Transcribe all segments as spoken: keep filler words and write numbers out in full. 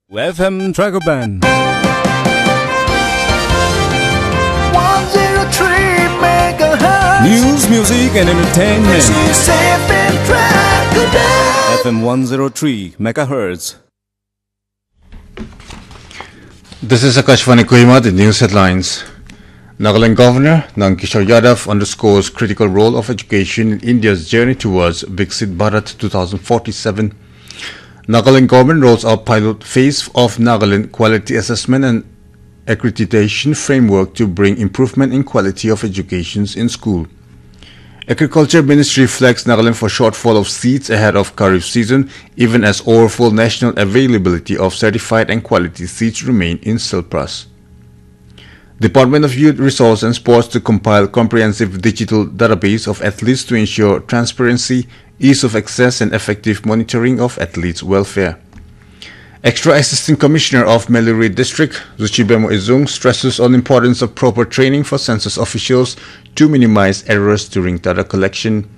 F M Dragon Band. one zero three megahertz. News, music, and entertainment. This is F M Dragon Band. F M one zero three megahertz. This is Akashvani Kohima, the news headlines. Nagaland Governor Nandkishore Yadav underscores critical role of education in India's journey towards Viksit Bharat two thousand forty-seven. Nagaland government rolls out pilot phase of Nagaland quality assessment and accreditation framework to bring improvement in quality of educations in school. Agriculture Ministry flags Nagaland for shortfall of seeds ahead of Kharif season, even as overall national availability of certified and quality seeds remain in surplus. Department of Youth Resource and Sports to compile comprehensive digital database of athletes to ensure transparency, ease of access, and effective monitoring of athletes' welfare. Extra Assistant Commissioner of Meluri District, Zuchibemo Izung, stresses on importance of proper training for census officials to minimize errors during data collection.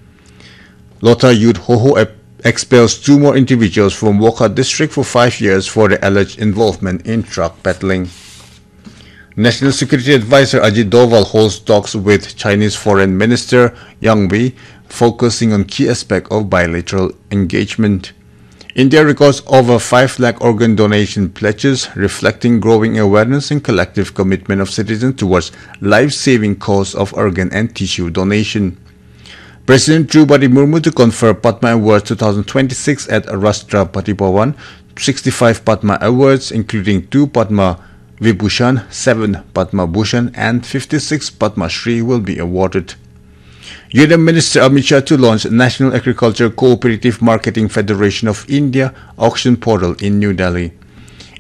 Lotha Youth Hoho ep- expels two more individuals from Wokha District for five years for their alleged involvement in drug peddling. National Security Advisor Ajit Doval holds talks with Chinese Foreign Minister Yang Wi, focusing on key aspect of bilateral engagement. India records over five lakh organ donation pledges, reflecting growing awareness and collective commitment of citizens towards life-saving cause of organ and tissue donation. President Droupadi Murmu to confer Padma Awards two thousand twenty-six at Rashtrapati Bhavan. Sixty-five Padma Awards, including two Padma Vibhushan, seven Padma Bhushan, and fifty-six Padma Shri will be awarded. Union Minister Amit Shah to launch National Agriculture Cooperative Marketing Federation of India auction portal in New Delhi.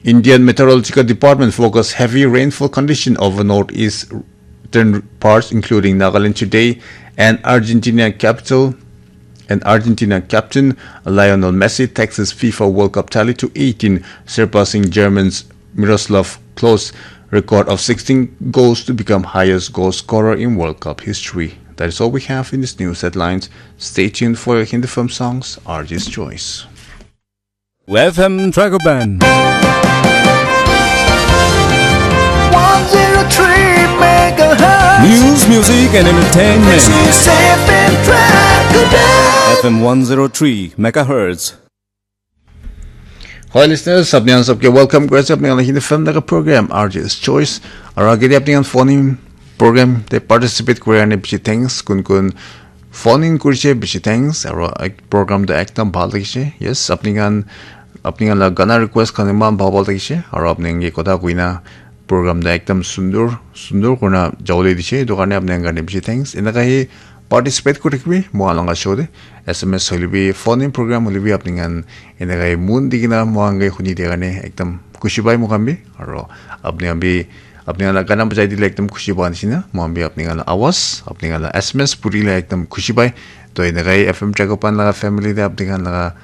Indian Meteorological Department forecast heavy rainfall condition over northeastern parts, including Nagaland today, and Argentina capital and Argentina captain Lionel Messi takes his FIFA World Cup tally to eighteen, surpassing German's Miroslav Klose record of sixteen goals to become highest goal scorer in World Cup history. That is all we have in this news headlines. Stay tuned for your Hindi film songs, R J's Choice. F M Dragon Band. one zero three megahertz. News, music, and entertainment. This is F M Dragon Band. F M one zero three megahertz. Hi listeners, apni khan sabke welcome kuri ase apni khan la Hindi film laga program R J's Choice. Aru agete apni khan phone in program te participate kuri ane bishi thanks. Kun kun phone in kurise bishi thanks. Aru ek- program to ekdam bhal lagise. Yes, apni khan apni khan la gana request khan eman bhal bhal lagise. Aru apni khan ke kotha koina program to ekdam sundur sundur kurina jabole dise. Etu karne apni khan karne bishi thanks. Enaka hi participate kuri thakibi moi khan laga show te. S M S hoile bi, phone in program hoile bi apni khan enaka hi mon di kena moi khan ke huni dia karne ekdam khushi pai moi khan bi. Aru apni khan bi apni khan la gana bajai dile ekdam khushi pa nishina. Moi khan bi apni khan la awaz, apni khan la S M S puri le ekdam khushi pai. To enaka hi F M Dragon Band laga family te apni khan laga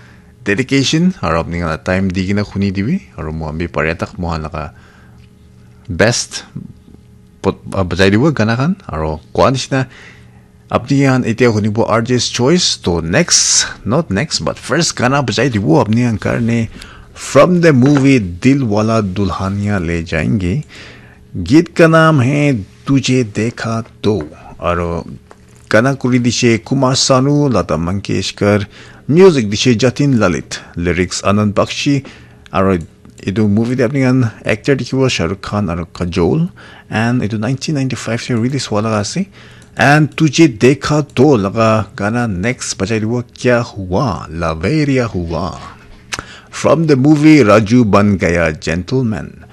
dedication aru apni khan la time di kena huni dibi. Aru moi khan bi pare tak moi khan laga best pot- ah, bajai dibo gana khan. Aru koa nishina apni khan etia hunibo R J's Choice. To next, not next, but first gana bajai dibo apni khan karne from the movie Dil Wala Dulhania Le Jayenge. Geet ka naam hai Tujhe Dekha To. Aru gana kuri dishe Kumar Sanu, Lata Mangeshkar, music dishe Jatin Lalit, lyrics Anand Bakshi, aru etu movie te apni khan actor dikhibo Shah Rukh Khan aru Kajol, and etu nineteen ninety-five te release hua laga ase. And Tujhe Dekha To laga gana next bajai dibo Kya Hua, Laveria Hua, from the movie Raju Ban Gaya Gentleman.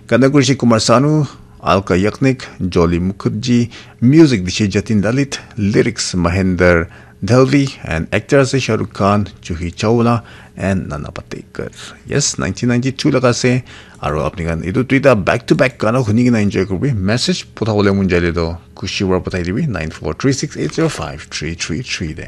Gana kurise Kumar Sanu, Alka Yagnik, Jolly Mukherjee, music dishe Jatin Lalit, lyrics Mahendra Dhalvi, and actor ase Shah Rukh Khan, Juhi Chawla, and Nana Patekar. Yes, nineteen ninety-two laga ase. Aru apni khan etu duita back to back gana huni kena enjoy kuribi. Message potha bole mon jaile to khushi para pothai dibi nine four three six eight zero five three three three te.